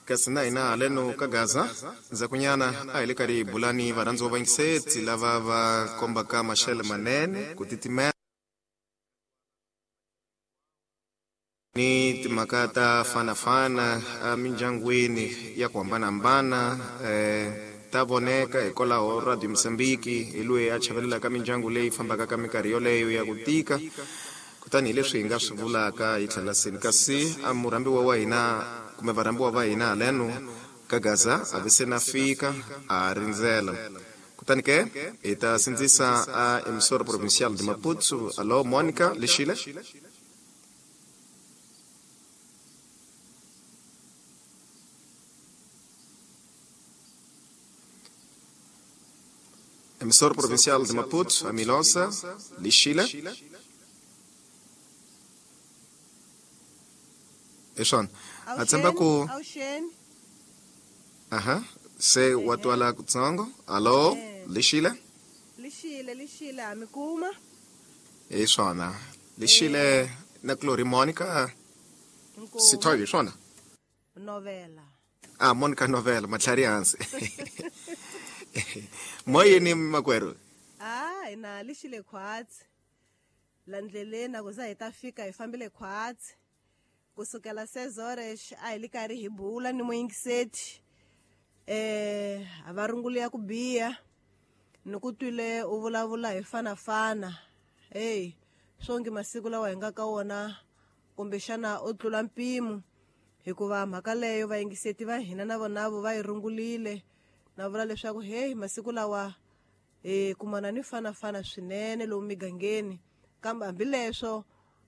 Kasi na hina haleno ka Gaza ndzhakunyana a hi le karhi hi bula ni varhandziwa va yingiseti lava va kombaka maxele manene ku titimela ni timhaka ta fanafana emindyangwini ya ku hambanahambana ta voneka. Hikwalaho Radio Mozambique hi loyi a chavelelaka mindyangu leyi fambaka ka minkarhi yoleyo ya ku tika. Kutani hi leswi hi nga swi vulaka hi tlhela seni, kasi a murhambiwa wa hina kumbe varhambiwa va hina haleno ka Gaza a vi se na fika, a rindzela. Kutani ke hi ta sindzisa a Emissora Provincial de Maputo. Allo, Monica Lexile. Emissora Provincial de Maputo, a Milosa Lixile. Hi swona, a tshemba ku aha se wa twala kutsongo. Allo, Lixile. Lixile, Lixile, ha mi kuma. Hi swona, Lixile na Glory Monica Sithoyo, hi swona. Novela. Ah, Monica Novela, matlhari hansi. Moyeni makwerhu. Ah, hina Lixile khwatsi. La ndleleni a ku za hi ta fika hi fambile khwatsi. Kusukela sezores a hi li karhi hi bula ni muyingiseti. A va runguli ya ku biha. Ni ku twile u vulavula hi fanafana. Hey, swongi masiku lawa hi nga ka wona kumbexana u tlula mpimo, hikuva mhaka leyo vayingiseti va hina na vonavo va yi rungulile. Na vula leswaku hey, masiku lawa hi kumana ni fanafana swinene lomu migangeni, kambe hambileswo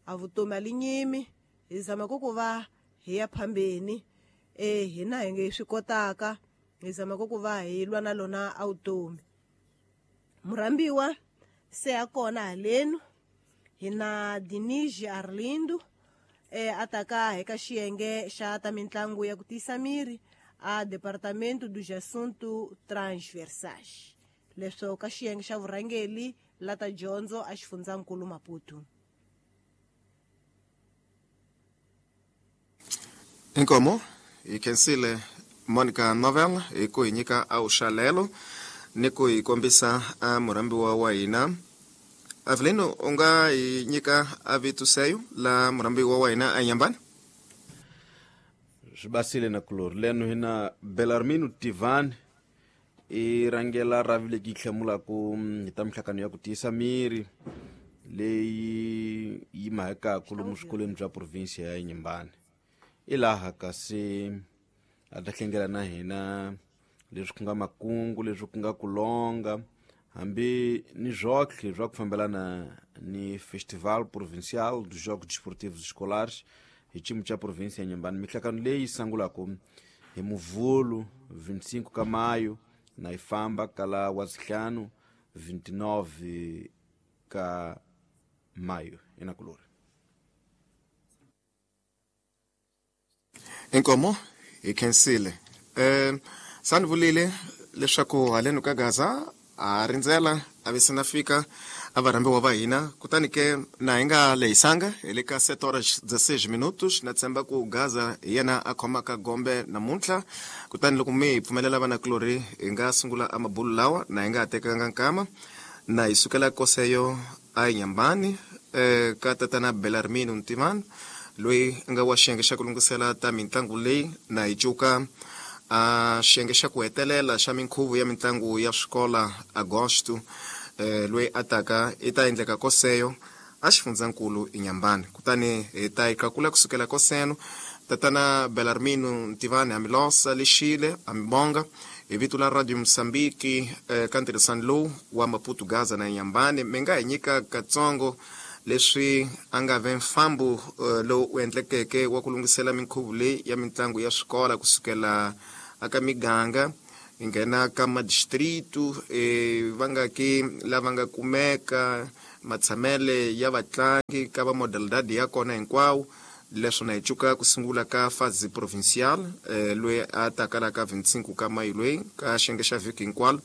a vutomi a li nyimi, hi zama ku va hi ya phambeni. Hina hi nge swi kotaka, hi zama ku va hi lwa na lona a vutomi. Murhambiwa se a kona halenu hi na Dinigi Arlindo, a taka eka xiyenge xa ta mitlangu ya ku tiyisa miri a Departamento dos Assuntos Transversais, leswo ka xiyenge xa vurhangeli la ta dyondzo a xifundzankulu Maputo. Inkomo hi khensile Monica Novel hi ku hi nyika awuxalelo ni ku hi kombisa a murhambiwa wa hina. Avelino, u nga hi nyika a vito seyo la murhambiwa wa hina a nyambani? Swi basile na kulori leno hina Belarmino Tivan i rhangela ravi leki yi hlamulaku hi ta minhlangano ya ku tiyisa miri leyi yi mahekaku lomu swikolweni bya provinsia ya Inhambane. I laha kasi a ta hlengela na hina leswi ku nga makungu, leswi ku nga kulonga, hambi ni zwotlhe swa ku fambelana ni Festival Provincial dos Jogos Desportivos Escolares hi xiyimo xa provinsia ya Inhambane. Minhlangano leyi sungulaka hi Muvhulu 25 ka mayo na yi famba kala wa sihlanu 29 ka mayo. Inakulori. Inkomo hi khensile. Sani vulile leswaku haleno ka Gaza a rindzela a vi se na fika a varhambiwa va hina. Kutani ke na hi nga lehisanga hi le ka 7 horas 16 minutos. Na tshemba ku Gaza hi yena a khomaka gombe namuntlha. Kutani loko mi hi pfumelela vanakulorhi, hi nga sungula a mabulu lawa na hi nga ha tekanga nkama. Na hi sukela koseyo a Inhambane ka tatana Belarmino Ntimani loyi a nga wa xiyenge xa ku lunghisela ta mitlangu leyi. Na hi cuka a xiyenge xa ku hetelela xa minkhuvo ya mitlangu ya swikola Agosto, loyi a taka i ta endleka koseyo a xifundzankulu Inhambane. Kutani hi ta yi qakula kusukela koseno. Tatana Belarmino Ntivani, Amilosa Lexile, amibonga hi vito la Radio Mozambique ka ntirhisano lowu wa Maputo Gaza na Inhambane. Mi nga hi nyika katsongo leswi a nga ve mfambo lowu u endlekeke wa ku lunghisela minkhuvo leyi ya mitlangu ya swikola kusukela aka miganga hi nghena ka madistritu, va nga ki lava nga kumeka matshamele ya vatlangi ka va modalidade ya kona hinkwawo. Leswo na hi cuka ku sungula ka fase provincial, loyi a taka la ka 25 ka mayo loyi ka xiyenge xa vhiki hinkwalo,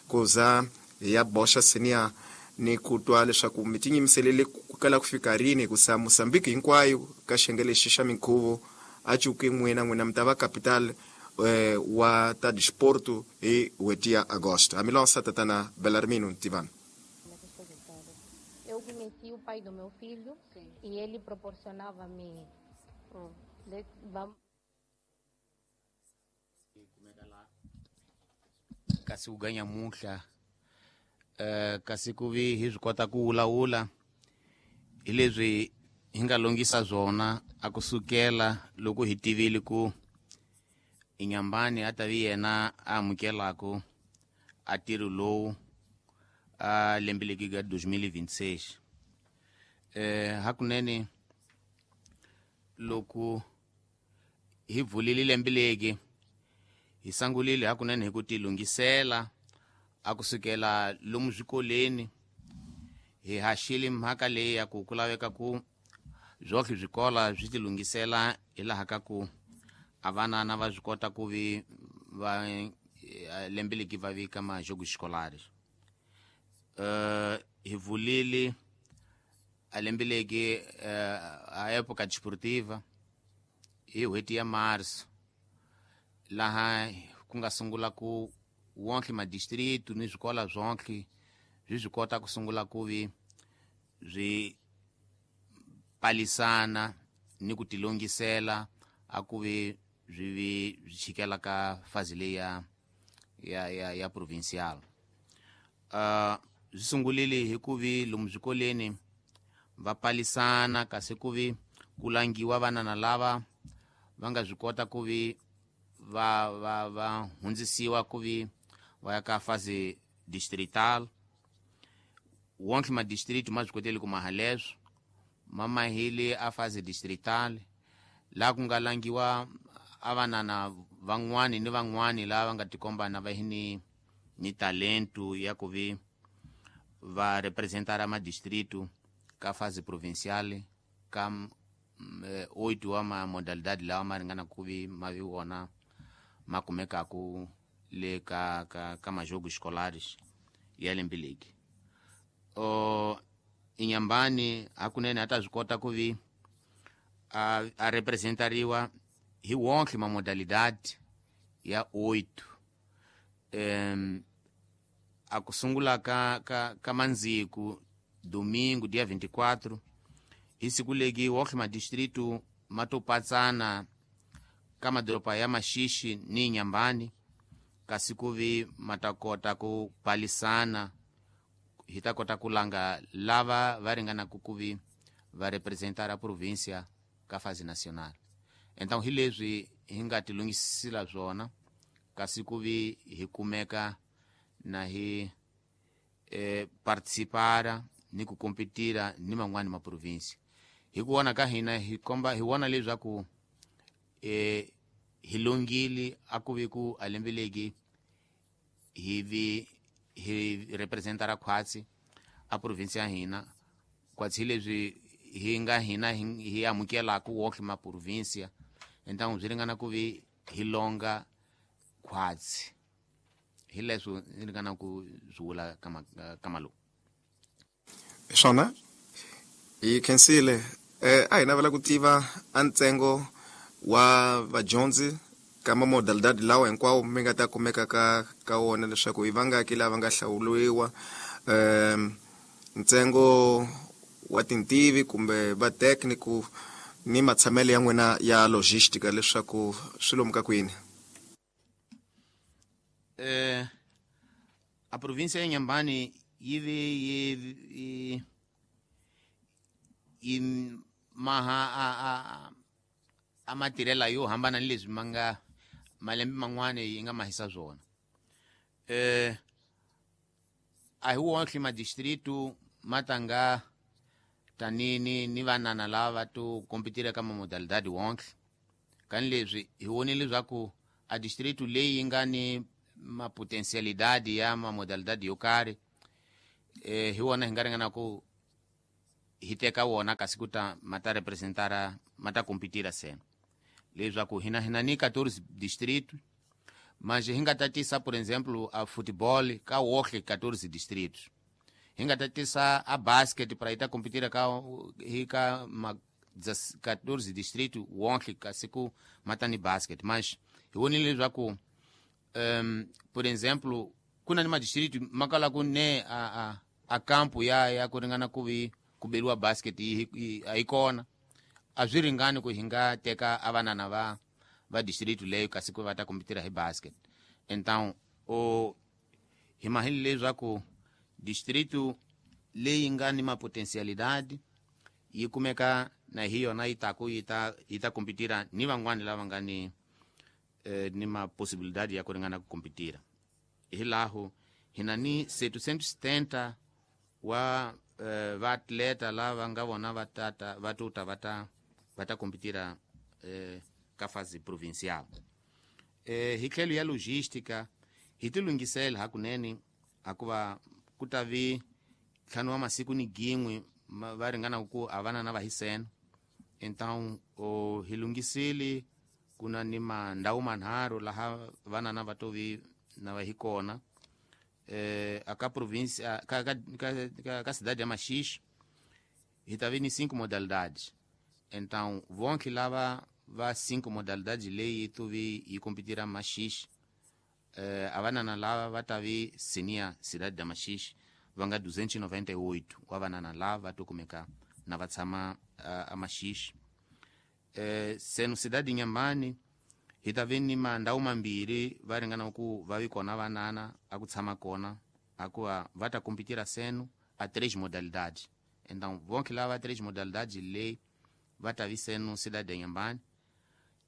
ku za hi ya boxa senior ni ku twa leswaku mi tinyimiselele ku kala ku fika rini, hikusa Mozambique hinkwayo ka xiyenge lexi xa minkhuvo a cuki n'wina n'wina mi ta va capital wa ta disporto hi n'hweti ya agosto. Hamilonsa tatana Belarmino Ntivani. Eu conheci o pai do meu filho. Sim. E ele proporcionava-me kasi ku ganya muhla kasi ku vi hi swi kota ku wulawula hi leswi hi nga longisa swona a kusukela loko hi tivile ku Inhambane a ta vi yena a amukelaku a ntirho lowu a lembe leki ka 2026. Hakunene loko hi pfulile lembe leki hi sangulile hakunene hi ku tilunghisela a kusukela lomu swikoleni hi haxile mhaka leyi ya ku ku laveka ku byohle swikola swi tilunghisela hi laha ka ku a vanana va swi kota ku vi va lembe leki va vika majogo escolares. Hi vulile a lembe leki a época desportiva hi n'hweti ya marso laha ku nga sungula ku wonke madistritu ni swikola swonke swi swi kota ku sungula ku vi swi palisana ni ku tilongisela a ku vi swi vi swi chikela ka fazi leyi ya provincial. Swi sungulile hi ku vi lomu swikoleni va palisana kasi ku vi ku langiwa vanana lava va nga swi kota ku vi va hundzisiwa ku vi va ya ka fase distrital. Wonke madistritu ma swi koteli ku maha leswo ma mahile a fase distrital laha ku nga langiwa a vanana van'wani ni van'wani lava va nga tikombana va hi ni talentu ya ku vi va representara madistritu ka fase provincial ka 8 wa ma modalidade lawa ma ringana ku vi ma vi wona ma kumekaku le ka majogo escolares ya lembe leki. Inhambane hakunene a ta swi kota ku vi a representariwa hi wonke ma modalidade ya 8. A ku sungula ka mandziku domingo dia 24 hi siku leki wonke madistritu ma to patsana ka madoroba ya Maxixi ni Inhambane kasi ku vi ma ta kota ku palisana hi ta kota ku langa lava va ringanaka ku vi va representara provincia ka fase nacional. Então hi leswi hi nga tilunghisela swona kasi ku vi hi kumeka na hi participara ni ku kompetira ni man'wani ma province. Hi ku vona ka hina hi komba hi vona leswaku hi longile a ku vi ku a lembe leki hi vi hi representara khwatsi a province ya hina khwatsi hi leswi hi nga hina hi amukelaka wonke ma provincia. Então swi ringana ku vi hi longa khwatsi hi leswo ni ringana ku swi vula ka malume. Swona hi khensile. A hi navela ku tiva a ntsengo wa vadyondzi ka mamodalidade lawa hinkwawo mi nga ta kumeka ka wona leswaku hi vangaki lava nga hlawuriwa, ntsengo wa tintivi kumbe va technical ni matshamelo ya n'wina ya logistica leswaku swi lomu ka kwini. A província ya Inhambane yi vi yi maha a matirhela yo hambana ni leswi ma nga malembe man'wana yi nga mahisa swona. A hi wonke madistritu ma tanga tani ni vanana lava to kompetira ka mamodalidade wonke. Kani leswi hi vonile leswaku a distritu leyi yi nga ni mapotencialidade ya mamodalidade yo karhi hi wona hi nga ringana ku hi teka wona kasi ku ta ma ta representara ma ta kompetira sena leswaku hina ni 14 distrito manje hi nga tatisa por exemplo a football ka wonke 14 distritos, hi nga tatisa a basket para yi ta kompetira ka hi ka ma 14 distrito wonke kasi ku mata ni basket, mas hi vonile leswaku por exemplo ku na ni madistrito ma kala ku ne a kampo ya ku ringana ku vi ku beriwa basket a yi kona. A swi ringani ku hi nga teka a vanana va distrito leyo kasi ku va ta kompetira hi basket. Então o hi mahile leswaku distrito leyi nga ni mapotensialidade yi kumeka na hi yona yi taku yi ta kompetira ni van'wani lava nga ni maposibilidade ya ku ringana ku kompetira. Hi laho hi na ni 770 wa vaatleta lava nga vona va tata va tuta va ta kompetira ka fase provincial. Hi tlhelo ya logística hi ti lunghisela hakunene, hakuva ku ta vi ntlhanu wa masiku ni gin'we va ringana ku a vana na va hisena. Então hi lunghisile ku na ni mandhawu manharhu laha vanana va to vi na va hi kona aka província ka cidade ya Maxixe. Hi ta vi ni cinco modalidades, então vonke lava va cinco modalidades leyi to vi yi kompetira Maxixe. A vanana lava va ta vi senia cidade da Maxixe va nga 298 wa vanana lava va to kumeka na va tshama a Maxixe. Seno cidade Inhambane hi ta vi ni mandhawu mambirhi va ringana ku va vi kona vanana a ku tshama kona, hakuva va ta kompetira seno a três modalidades. Então vonke lava três modalidades leyi va ta vi seno cidade Inhambane.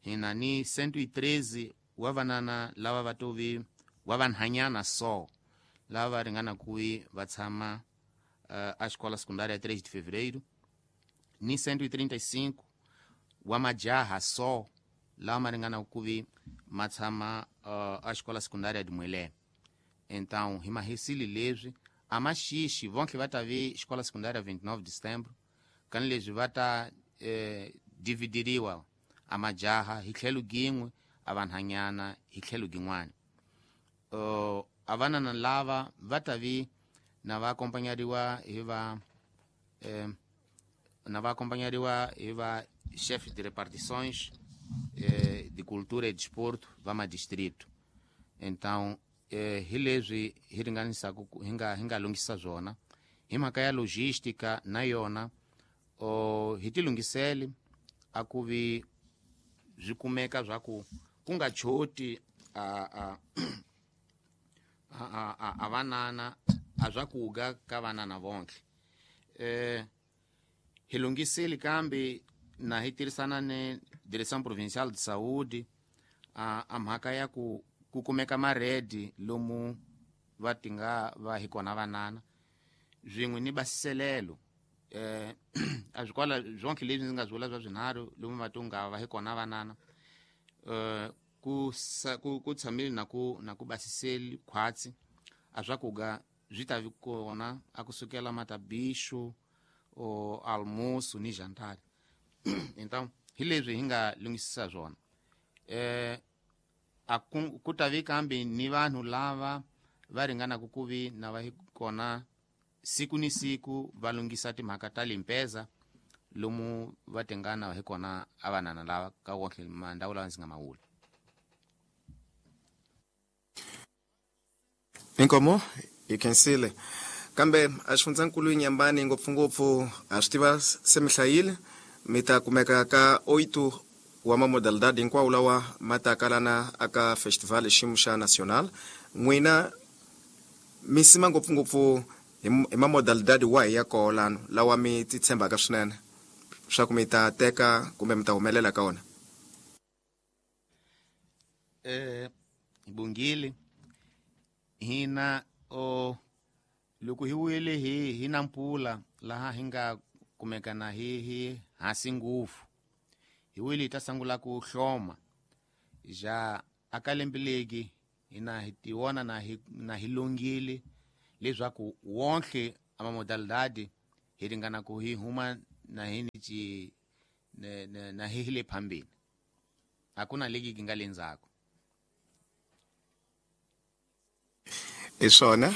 Hi na ni 113 wa vanana lava va to vi wa vanhanyana so lava va ringana ku vi va tshama a escola secundária 3 de Fevereiro, ni 135 wa majaha so lawa ma ringana ku vi ma tshama a escola secundária de Muelé. Então hi mahisile leswi a Maxixi vonke va ta vi escola secundária 29 de setembro, kani leswi va ta dividiriwa a majaha hi tlhelo gin'we, a vanhanyana hi tlhelo gin'wana. A vanana lava va ta vi na va akompanyariwa hi va na va akompanyariwa hi va chef de repartições de cultura e desporto va madistrito. Então hi leswi hi ringanisaka hi nga lunghisa swona hi mhaka ya logística na yona. Hi ti lunghisele a ku vi swi kumeka swa ku ku nga choti a vanana a swakuga ka vanana vonke. Hi lunghisile kambe na hi tirhisana ni Direção Provincial de Saúde a mhaka ya ku kumeka maredi lomu va tinga va hi kona vanana swin'we ni basiselelo. A swi kwala swonke leswi ndzi nga swi vula swa swinharhu lomu va to nga va hi kona vanana ku tshamile na ku basiseli khwatsi a swakuga swi ta vi kona a kusukela matabixo o almoço ni jantar. Então hi leswi hi nga lunghisisa swona. A ku ta vi kambe ni vanhu lava va ringanaka ku vi na va hi kona siku ni siku va lunghisa timhaka ta limpeza lomu va tingana hi kona a vanana lava ka wonke mandhawu lawa ndzi nga mawula. Inkomo hi khensile, kambe a xifundzankulu Inhambane ngopfungopfu a swi tiva se mi hlayile mi ta kumeka ka 8 wa mamodalidade hinkwawo lawa ma ta kalana aka festival xiyimo xa national. N'wina mi sima ngopfungopfu hi mamodalidade wahi ya koho lano lawa mi ti tshembaka swinene swa ku mi ta teka kumbe mi ta humelela ka wona? Bungile hina o loko hi wile hi na mpula laha hi nga kumeka na hi hansi ngopfu hi wile hi ta sungula ku hloma ja aka lembe legi hina hi tiwona na hi longile leswaku wonke amamodalidade hi ringana ku hi huma na hi ni ci na hi le phambili, hakuna ligi ki nga le ndzhaku. Hi swona,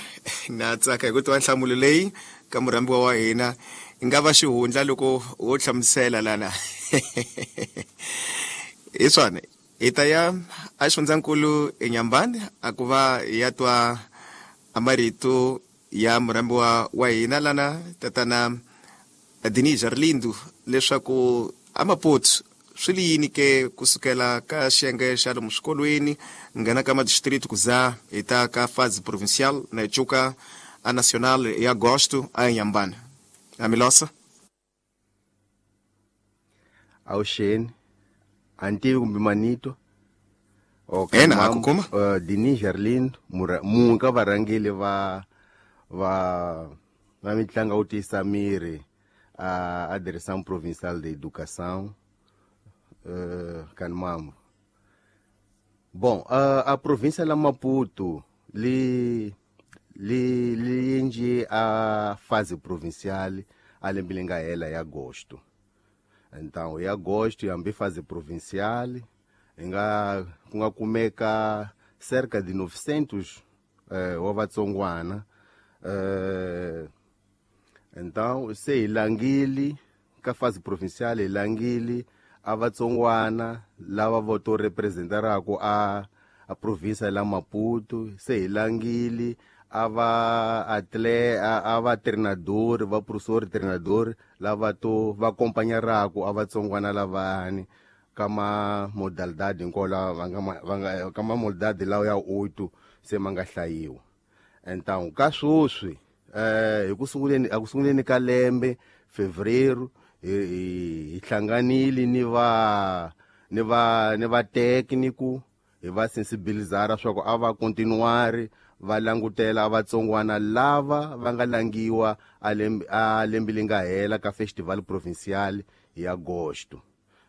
na tsaka hi ku tiva nhlamulo leyi ka murhambiwa wa hina. Nga va xihundla loko wo hlamusela lana. Hi swona hi ta ya a xifundzankulu eNyambani a ku va hi ya twa a marito ya murhambiwa wa hina lana tatana Denis Arlindo leswaku a Maputo swi li yini ke kusukela ka xiyenge xa lomu swikolweni nghena ka madistrict ku za hi ta ka fase provincial na hi cuka a national ya agosto a eNyambani. Amilosa Awuxeni, a ni tivi kumbe manito. Okay, Ena, a ku kuma. Denis Arlindo munhu ka varhangeli va mitlangu wo tiyisa miri a Direção Provincial de Educação, Kanmambo. Bom, a província la Maputo li endle a fase provincial a lembe leri nga hela ya agosto. Então, em agosto hambi fase provincial hi nga ku nga kumeka cerca de 900 wa vatsongwana. Então se hi langile ka fase provincial, hi langile a vatsongwana lava vo to representaraka a província la Maputo. Se hi langile a va atle a va treinador, va professor treinador lava to va acompanharaka a vatsongwana lavani ka ma modalidade hinkwawo lawa va nga ka ma modalidade lawa ya oito se ma nga hlayiwa. Então ka sweswi, hi ku sunguleni, a ku sunguleni ka lembe fevereiro, hi hlanganile ni va técnico, hi va sensibilizara swa ku a va continuari va langutela vatsongwana lava va nga langiwa a lembe leri nga hela ka festival provincial hi agosto.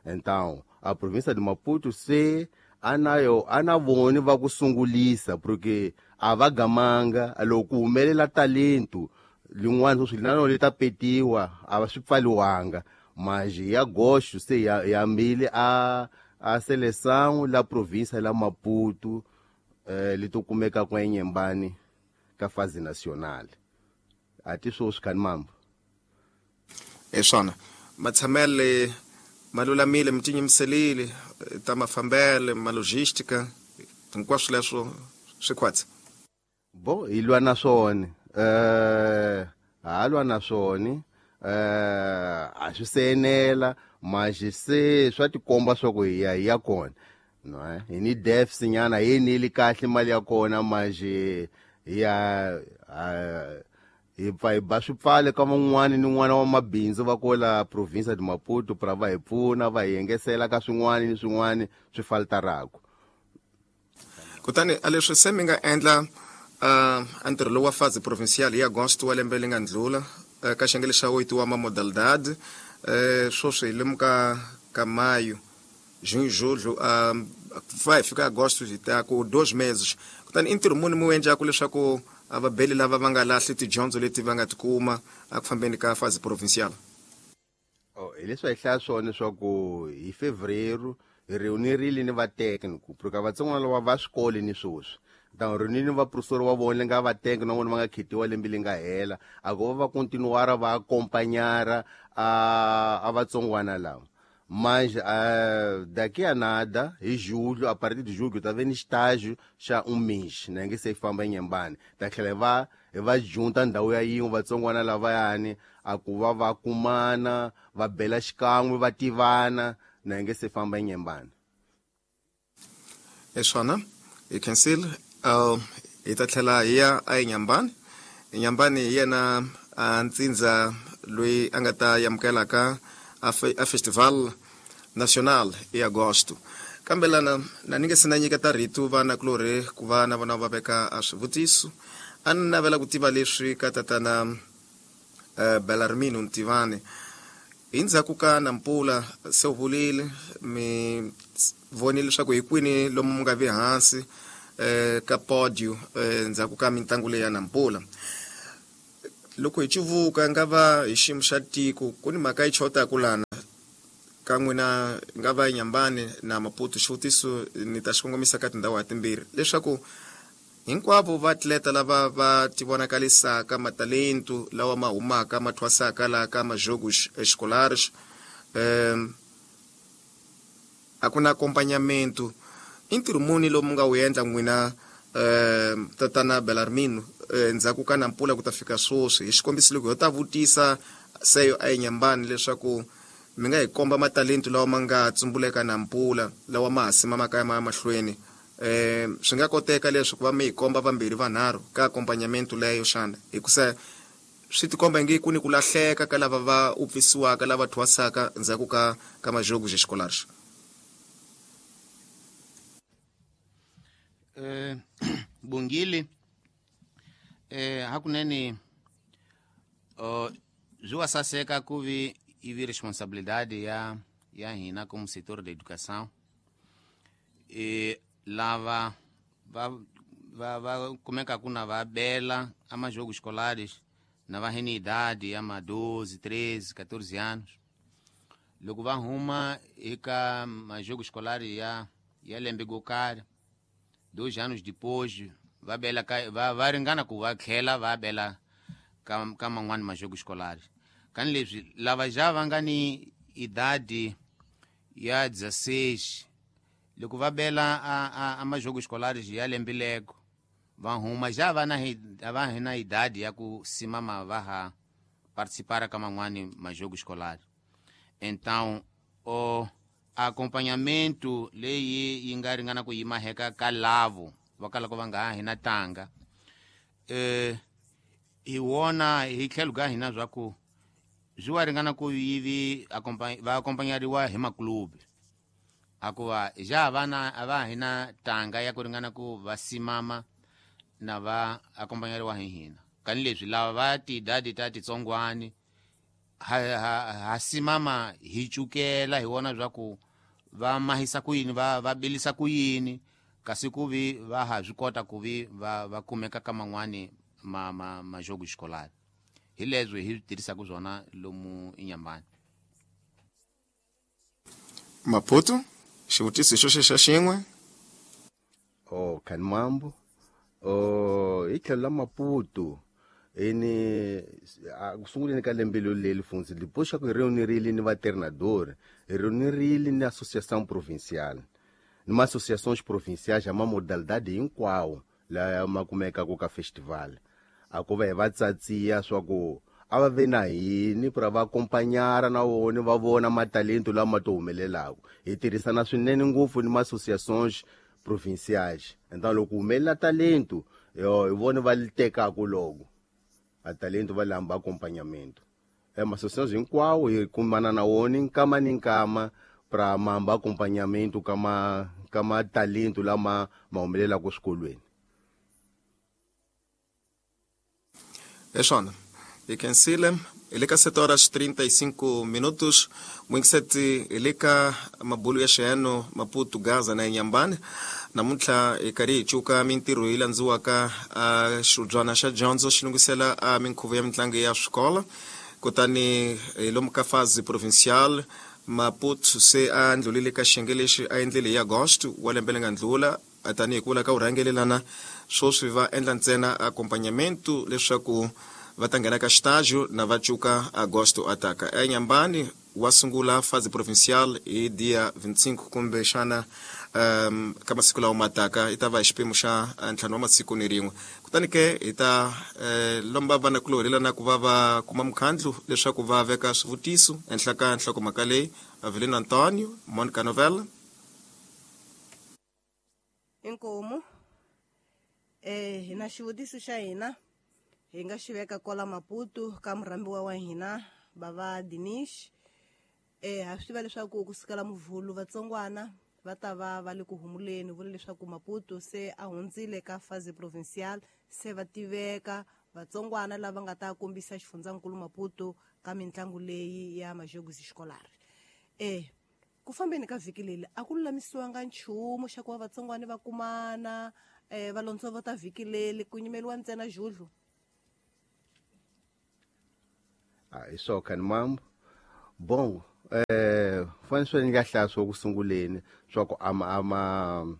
Então a província de Maputo se anayo ana voni va ku sungulisa, porque a va gamanga loko ku humelela talento lin'wana sweswi na li ta petiwa, a va swi pfaliwanga. Mas hi agosto se ya mbile a seleção la província la Maputo, leti kumekaka eNyembani ka fase nacional. A ti swoswi khani mambo. Hi swona, matshamele ma lulamile, mi tinyimiselile ta mafambele, ma logística, hinkwaswo leswo swi khwatsi? Bo, hi lwa na swona, ha lwa na swona, a swi se enela, mas se swa tikomba swa ku hi ya kona. No, hi ni deficit nyana, hi eneli kahle mali ya kona, mas hi ya hi pfa hi ba swipfale ka van'wani ni n'wana wa mabindzu va kola província de Maputo pra va hi pfuna, va hi engesela ka swin'wani ni swin'wani swi faltaraku. Kutani a leswi se mi nga endla a ntirho lowu wa fase provincial hi agosto wa lembe leri nga ndlula, ka xiyenge lexa oito wa ma modalidade, swoswi hi lemuka ka maio, junho, julho, va hi fika agosto, hi ta ku 2 meses. Kutani i ntirho muni mi wu endlaku leswaku a vabeli lava va nga lahli tidyondzo leti va nga ti kuma eku fambeni ka fase provincial? Oh, hi leswi hi hlaya swona leswaku hi fevereiro hi reunirile ni va técnico, porque vatsongwana lava va swikole ni swoswi ta reunile ni vaprofessori wa vona le nga va técnico na vona va nga khetiwa lembe leri nga hela, a ku va va continuara va acompanhara a vatsongwana lava. Mas daqui a nada, hi julho, a partir de julho ta ve ni estágio xa um mês na nge se famba eNyembani, ta tlhela hi va junta ndhawu ya yin'we vatsongwana lavayani, a ku va va kumana, va bela xikan'we, va tivana na nge se famba eNyembani. Hi swona, hi khensile. Hi ta tlhela hi ya a eNyambani. Enyambani hi yena a ntsindza loyi a nga ta amukelaka a festival national hi agosto. Kambe lana na ni nge se na nyiketa rito vana kulorhi ku va na vona va veka a swivutiso, a ni navela ku tiva leswi ka tatana Belarmino Ntivani. Hi ndzhaku ka Nampula, se u vulile mi vonile leswaku hi kwini lomu mi nga vi hansi ka podio ndzhaku ka mitlangu leyi ya Nampula. Loko hi civuka nga va hi xiyimo xa tiko, ku ni mhaka yi chotaku lana ka n'wina nga va Nyambani na Maputo. Xivutiso ni ta xi kongomisa ka tindhawu ha timbirhi leswaku Hinkwavo vaatleta lava va tivonakalisaka matalentu lawa ma humaka ma thwasaka laha ka majogos escolares, a ku na acompanhamento. I ntirho muni lowu mi nga wu endla n'wina, tatana Belarmino, endzhaku ka Nampula ku ta fika sweswi? Hi xikombiso, loko ho ta vutisa seyo a eNyambani leswaku mi nga hi komba matalentu lawa ma nga tsumbuleka Nampula lawa ma ha simamaka ya ma ya mahlweni, swi nga koteka leswi ku va mi hi komba vambirhi vanharhu ka accompagnamento leyo xana? Hikusa swi tikomba ingi ku ni ku lahleka ka lava va upfisiwaka, lava thwasaka ndzhaku ka majogos escolares. Bungile, hakunene swi wa saseka ku vi ivi responsabilidade ya hina como setor da educação, lava va kumekaku na va bela a majogos escolares na va hene idade ya ma 12, 13, 14 anos, loko va huma eka majogos escolares ya lembe go karhi, 2 anos depois va bela ka va ringana ku va tlhela va bela ka man'wani majogos escolares. Kani leswi lava já va nga ni idade ya 16, loko va bela a majogos escolares ya lembe lego, va huma já va na va hi na idade ya ku simama va ha participar ka man'wani majogos escolares. Então o acompanhamento leyi yi nga ringana ku yima heka ka lavo va kalaka va nga ha hina tanga, hi wona hi tlhelo ka hina swa ku swi wa ringana ku yivi va acompanhariwa hi maklubi, akuva ja vana a va hina tanga ya ku ringana ku va simama na va acompanhariwa hi hina. Kani leswi lava va tidadi ta titsongwani ha simama hi cukela hi wona swa ku va mahisa ku yini, va bilisa ku yini, kasi ku vi va ha swi kota ku vi va kumeka ka man'wani ma majogo escolar. Hi leswi hi swi tirhisaka swona lomu Inyambani. Maputo, xivutiso xo xexa xin'we. Oh, Kanimambo. Oh, hi tlhelo la Maputo, ini ku sunguleni ka lembe leri funzi depois xa ku hi reunirile ni vatreinador, hi reunirile ni associação provincial ni ma-associações provinciais ya ma-modalidade hinkwawo laya ma kumekaka ka festival, a ku va hi va tsatsiya swa ku a va ve na hini pra va acompanhara na vona, va vona matalento lama to humelelaka. Hi tirhisana swinene ngopfu ni ma-associações provinciais. Então loko humelela talento yo, hi vona va li tekaku loko a talento va lamba acompanhamento. Ma-associações hinkwawo hi kumana na wona nkama ni nkama pra mamba acompanhamento ka matalento lama ma humelelaka swikolweni. Hi swona, hi khensile. Hi le ka 7 horas 35 minutos. Mwingiseti, hi le ka mabulu ya xiyano Maputo, Gaza na Inyambani. Namuntlha hi karhi hi cuka mintirho yi landziwaka a xibyana xa dyondzo xi lunghisela a minkhuvo ya mitlangu ya swikolo. Kutani hi lomu ka fase provincial, Maputo se a ndlulile ka xiyenge lexi a endlile hi agosto wa lembe leri nga ndlula. Tanihi ku vula ka vurhangelelana, swoswi va endla ntsena acompanhamento leswaku va ta nghena ka xitajo na va cuka agosto ataka. Enyambani wa sungula fase provincial hi dia 25 kumbe xana ka masiku lawa mataka, i ta va hi xiphemu xa 5 wa masiku ni rin'we. Kutani ke hi ta lomba vanakulorhi lana ku va va kuma mukhandlu leswaku va veka swivutiso ehenhla ka nhlokomhaka leyi. Avelino Antonio, Monica Novella. Inkomu. Hi na xivutiso xa hina hi nga xi veka kwala Maputo ka murhambiwa wa hina bava Dinish. Ha swi tiva leswaku kusukela Muvhulu vatsongwana va ta va va le ku humuleni. Vula leswaku Maputo se a hundzile ka fase provincial, se va tiveka vatsongwana lava nga ta kombisa xifundzankulu Maputo ka mitlangu leyi ya majogos escolar. Ku fambeni ka vhiki leri a ku lulamisiwanga nchumu xa ku va vatsongwana va kumana, va londzovota vhiki leri ku nyimeliwa ntsena judlu? Ah, hi swona, Khanimambo. Bon, fanele swi nga hlaya swo ku sunguleni swa ku ama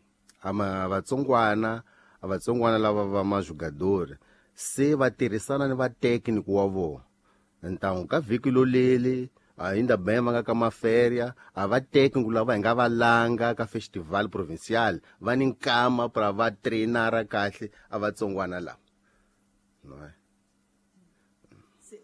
vatsongwana A vatsongwana lava va majugadori se va tirhisana ni vatekniki wa vona. Ntangu ka vhiki loleli ainda bem va nga ka maferia, a va tekniki lava hi nga va langa ka festival provincial va ni nkama pra va trainara kahle a vatsongwana lava. No.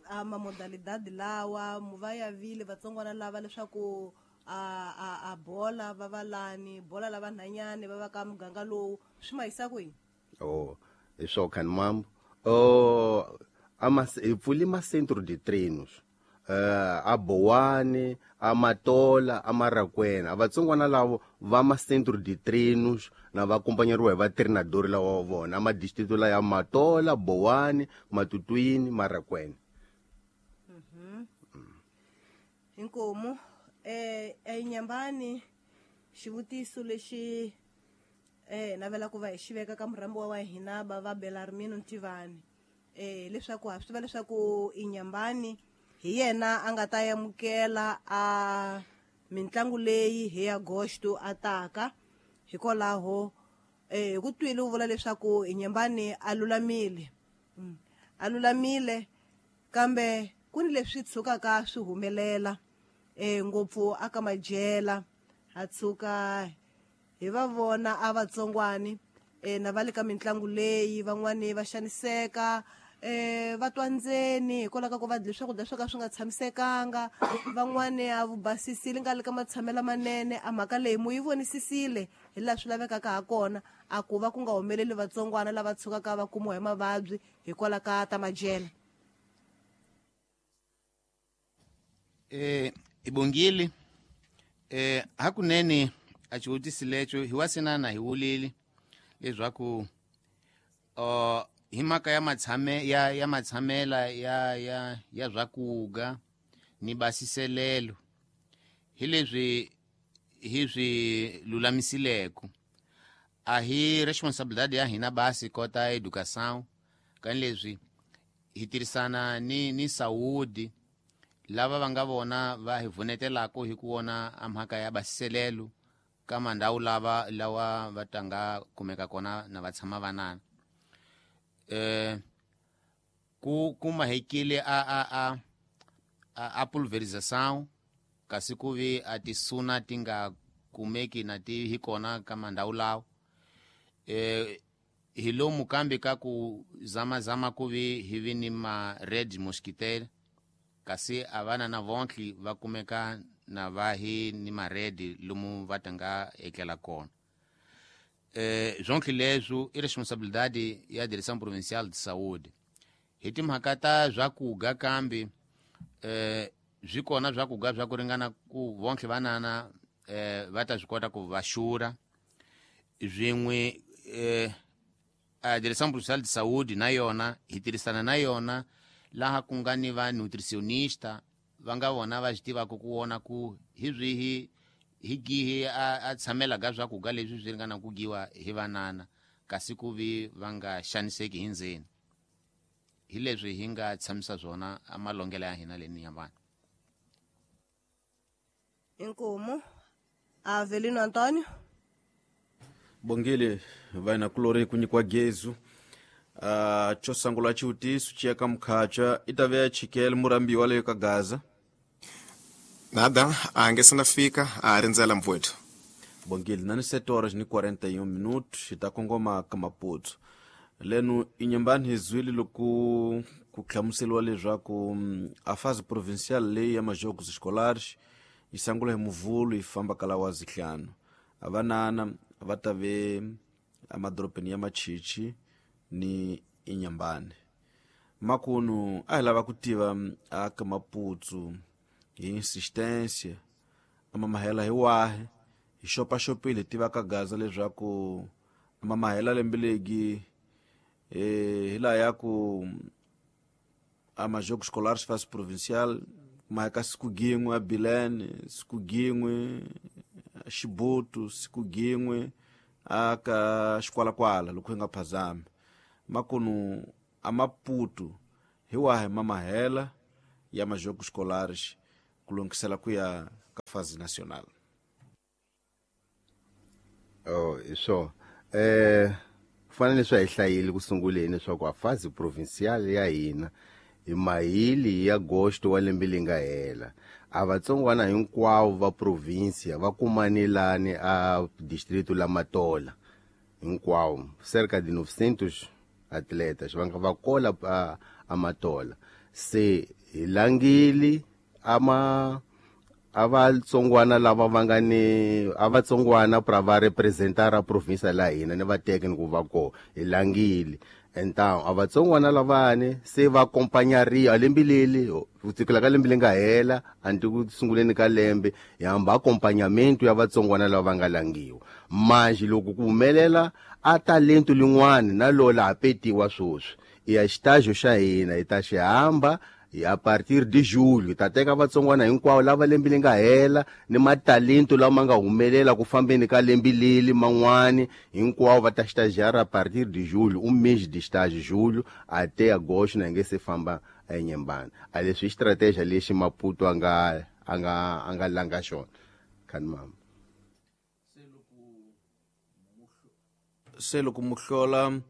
A mamodalidade lawa mu va ya vile vatsongwana lava leswaku a bola va va lani bola lava nhanyani va va ka muganga lowu swi ma yisa kwihi? Oh, hi swo khani mambo. Oh, hi pfule ma-centro de treinos a Bowani, a Matola, a Marakwena. A vatsongwana lavo va ma-centro de treinos na va acompanhariwa hi vatreinadori lawa wa vona a madistrito la ya Matola, Bowani, Matutuini, Marakwena. Inkomu enyambani xivutiso lexi navela ku va hi xi veka ka murhambiwa wa hina va va Belarmino Ntivani, leswaku ha swi tiva leswaku Inyambani hi yena a nga ta amukela a mitlangu leyi hi agosto a taka. Hikwalaho hi ku twile u vula leswaku Inyambani a lulamile, a lulamile, kambe ku ni leswi tshukaka swi humelela ngopfu aka majela, ha tshuka hi va vona a vatsongwani na va le ka mitlangu leyi van'wani va xaniseka, va twa ndzeni hikwalaho ka ku va dle swakudya swo ka swi nga tshamisekanga, van'wani a vubasisile nga le ka matshamelo manene. A mhaka leyi mu yi vonisisile hi laha swi lavekaka ha kona, a ku va ku nga humeleli vatsongwana lava tshukaka va kumiwa hi mavabyi hikwalaho ka ta majela? Ibongile, hakunene a xivutiso lexo hi wasinana hi wulile leswaku hi mhaka ya matshame ya matshamela ya swakuga ni basiselelo, hi leswi hi swi lulamisileko. A hi responsabilidade ya hina basi kota educação, kani leswi hi tirhisana ni saúde lava va nga vona va hi vunetelako hi ku vona a mhaka ya basiselelo ka mandhawu lava lawa va tanga kumeka kona na va tshama vanana. Ku mahekile a pulverização, kasi ku vi a tisuna ti nga kumeki na ti hi kona ka mandhawu lawa. Hi lomu kambe ka ku zamazama ku vi hi vi ni ma red mosquitaire, kasi a vana na vontlhi va kumeka na va hi ni maredi lomu va tanga etlela kona. Zwonke leswo i responsabilidade ya Direção Provincial de Saúde. Hi timhaka ta swakuga kambe swi kona swakuga swa ku ringana ku vonke vanana va ta swi kota ku va xurha swin'we. A Direção Provincial de Saúde na yona hi tirhisana na yona laha ku nga ni va nutricionista va nga vona va swi tivaka ku vona ku hi swihi hi gihi a tshamelaka swakuga leswi swi ringana ku giwa hi vanana, kasi ku vi va nga xaniseki hi ndzeni. Hi leswi hi nga tshamisa swona a malongelo ya hina leni ya vanhu. Inkomu Avelino Antonio. Bongile vaina kulori ku nyikiwa gezu. Xo sungula xivutiso xi ya ka mukhacha i ta ve chikele murambiwa leyo ka Gaza. Nada, a nge se na fika, a rindzela mfowethu. Bongile na ni 7 horas ni 41 minutos hi ta kongoma ka Maputo. Leno Inyambani hi zwile loko ku hlamuseriwa leswaku a fase provincial leyi ya majogos escolares yi sungula hi Muvhulu yi famba ka lawa zihlanu. A vanana va ta ve emadorobeni ya Machichi ni Inyambani. Makunu a hi lava ku tiva a ka Maputo hi insistência a mamahela hi wahi, hi xopaxopile hi tiva ka Gaza leswaku a mamahela lembe legi hi laha ya ku a majogos escolares fase provincial maheka siku gin'we a Bilene, siku gin'we a Xibutu, siku gin'we a ka Xikwalakwala loko hi nga phazami. Makunu a Maputo hi wahi mamahela ya majogos escolares ku lungisela ku ya ka fase nacional? Oh, hi swona. Fana leswi a hi hlayile ku sunguleni leswaku a fase provincial ya hina hi mahili ya agosto wa lembe leri nga hela, a vatsongwana hinkwavo va provincia va kumanelani a distrito la Matola hinkwavo, cerca de 900 atletas va nga va kola a Matola. Se hi langile ama a vatsongwana lava va nga ni a vatsongwana pra va representara province la hina ni va teke ni ku va ko hi langile. Então a vatsongwana lavani se va acompanhariwa lembe leli ku sukela ka lembe leri nga hela anti ku sunguleni ka lembe hi hamba acompanhamento ya vatsongwana lava va nga langiwa. Manje loko ku humelela a talento lin'wana na lola ha petiwa swoswi i ya xitajo xa hina hi ta xi hamba a partir de julho ta teka vatsongwana hinkwavo lava lembe leri nga hela ni matalento lama ma nga humelela ku fambeni ka lembe leli man'wani hinkwavo va ta estagiar a partir de julho, um mês de estágio, julho até agosto, na nge se famba eNyembani. A leswi i stratégia lexi Maputo a nga langa xona. Khani mama. Se loko muhlola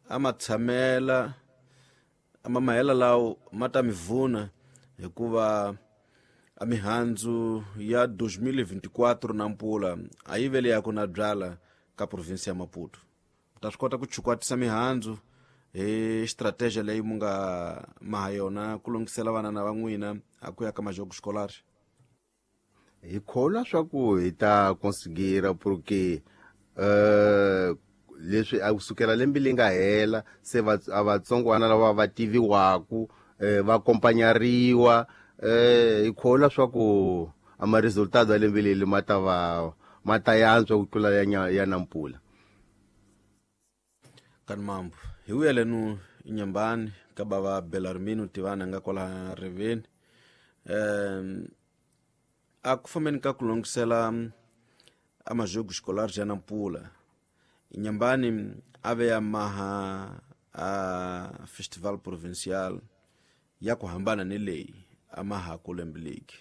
a ma tshamela a ma mahela lawo ma ta mi vuna hikuva a mihandzu ya 2024 na mpula a yi vele ya ku na byala ka province ya Maputo. Ta swi kota ku chukwatisa mihandzu hi strategy leyi mu nga maha yona ku lungisela vana na van'wina a ku ya ka majogo escolar. Hi kholwa swa ku hi ta conseguir porque leswi a kusukela lembe leri nga hela se a vatsongwana lava va tiviwaku va acompanhariwa hi kholwa swa ku a ma resultado ya lembe leri ma ta va ma ta yantswa ku tlula ya Nampula. Kani mambo hi vuyelenu Inhambane ka bava Belarmino Tivana nga kwala riveni a ku fambeni ka ku longisela a majogo escolar ya Nampula. Inhambane a ve ya maha a festival provincial ya ku hambana ni leyi a maha ku lembe leki.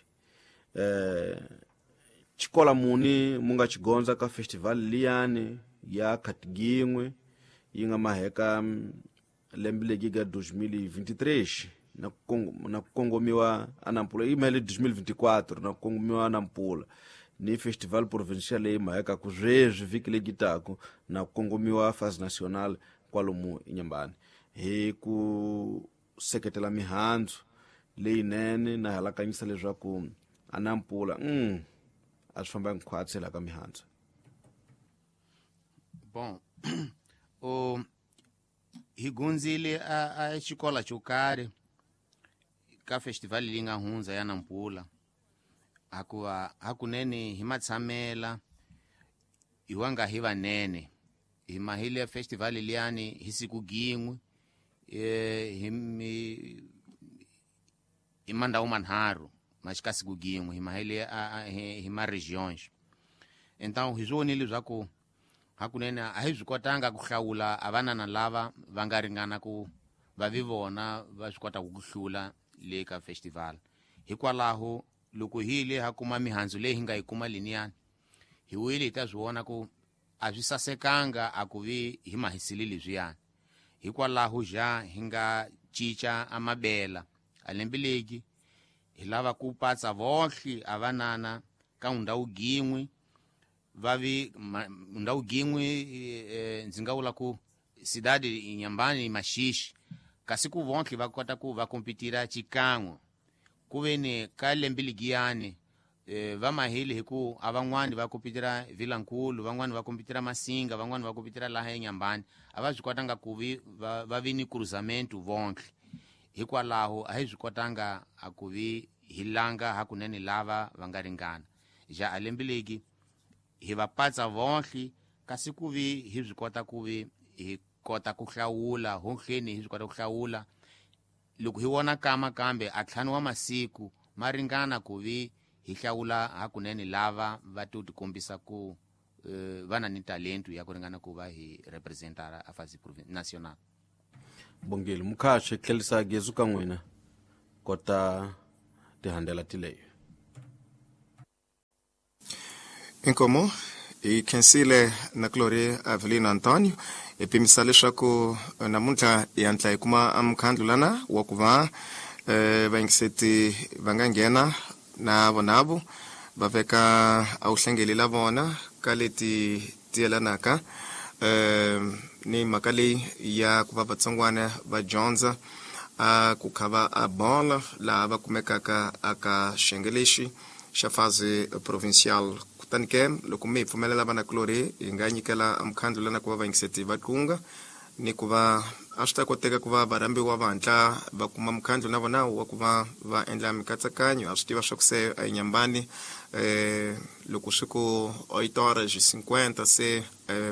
Xikola muni mu nga xigondza ka festival liyani ya Khatigingwe yi nga maheka lembe leki ka 2023 na ku kongomiwa a Nampula yi mahele 2024 na ku kongomiwa a Nampula ni festival provincial leyi maheka ku sweswi vhiki legi taku na ku kongomiwa fase national kwalomu Inhambane hi ku seketela mihandzu leyinene na halakanyisa leswaku a Nampula a swi famba hinkwatsi la ka mihandzu. Bom, o hi gunzile a xikola xo karhi ka festival leyi nga hundza ya Nampula hakuva hakunene hi matshamela hi wanga hi vanene hi mahile ya festival liyani hi siku gin'we hi mandhawu manharhu mas ka siku gin'we hi mahile hi ma regions. Então hi swi vonile leswaku hakunene a hi swi kotanga ku hlawula a vanana lava va nga ringana ku va vi vona va swi kotaka ku hlula le ka festival. Hikwalaho loko hi yile ha kuma mihandzu leyi hi nga yi kuma liniyani hi wile hi ta swi vona ku a swi sasekanga a ku vi hi mahisile leswiyani. Hikwalaho ja hi nga cinca a mabela a lembe leki hi lava ku patsa vohle a vanana ka ndhawu gin'we va vi ndhawu gin'we ndzi nga vula ku cidade Inhambane Maxixi kasi ku vonhle va kota ku va kompetira xikan'we ku ve ni ka lembe ligiyani va mahile hi ku a van'wani va kompetira Vilankulu, van'wani va kompetira Masinga, van'wani va kompetira laha eNyambani a va swi kotanga ku vi va vi ni cruzamento vonhle. Hikwalaho a hi swi kotanga a ku vi hi langa hakunene lava va nga ringana ja a lembe leki hi va patsa vonhle kasi ku vi hi swi kota ku vi hi kota ku hlawula honhleni hi swi kota ku hlawula loko hi vona kama kambe a ntlhanu wa masiku ma ringana ku vi hi hlawula hakunene lava va to tikombisa ku va na ni talento ya ku ringana ku va hi representara a fasi national. Bongile mukhaxi tlhelisa gezu ka n'wina kota tihandela tileyo. Inkomo hi khensile na Gloria Avelino Antonio Hi pimisa leswaku namuntlha hi hatla hi kuma mukhandlu lana wa ku va vayingiseti va nga nghena na vonavo va veka a wuhlengeli la vona ka leti ti yelanaka ni mhaka leyi ya ku va vatsongwana va dyondza a ku khava a bolo laha va kumekaka aka xiyenge lexi xa fase provincial. Kutani ke loko mi hi pfumelela vanakulorhi, hi nga nyikela mukhandlu lana ku va vayingiseti va tlunga ni ku va a swi ta koteka ku va varhambiwa va hatla va kuma mukhandlu na vona wa ku va va endla mikatsakanyo. A swi tiva swa ku se a hi nyambani, loko swi ku 8:50 se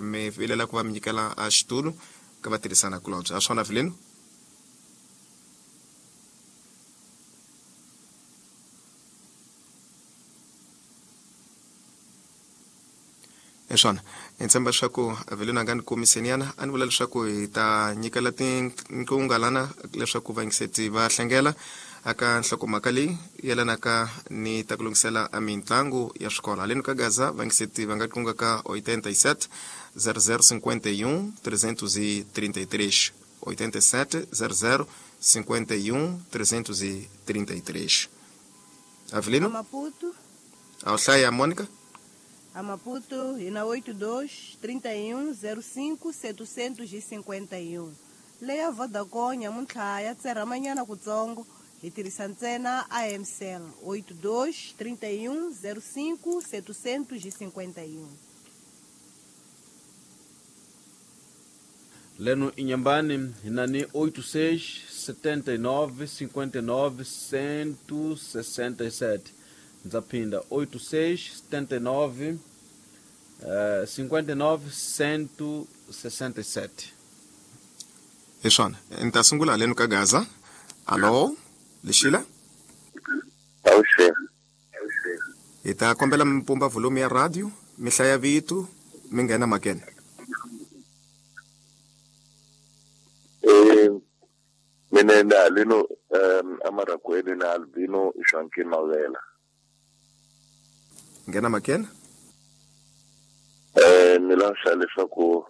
mi vilela ku va mi nyikela a xitulu ka vatirhisana kulobye. A swona, Vilino? Hi swona, hi tshemba leswaku Vilino a nga ni komiseniana. A ni vula leswaku hi ta nyikela tinqunga lana leswaku vayingiseti va hlengela aka nhlokomhaka leyi yelanaka ni ta ku lunghisela a mitlangu ya swikolo haleni ka Gaza. Vayingiseti va nga qunga ka 87 00 51 333, 87 00 51 333. Avelino? A Maputo. A wu hlaya, Monica? A Maputo hi na 82 31 05 751. Leya Vodacom nyamuntlha ya tserhamanyana kutsongo, hi tirhisa ntsena AMCell, 82 31 05 751. Leno Inhambane hinani 86 79 59 167. Ndzaphinda, 86 79 59 167. Hi swona, ni ta sungula haleni ka Gaza. Alo, Lexila? Avuxeni. Hi ta kombela mi pumba volume ya radio, mi hlaya vito, mi nghena makene. Mina ni haleno amaragweni na Albino Joaquim Mavela. Nghena makene. Ni lava leswaku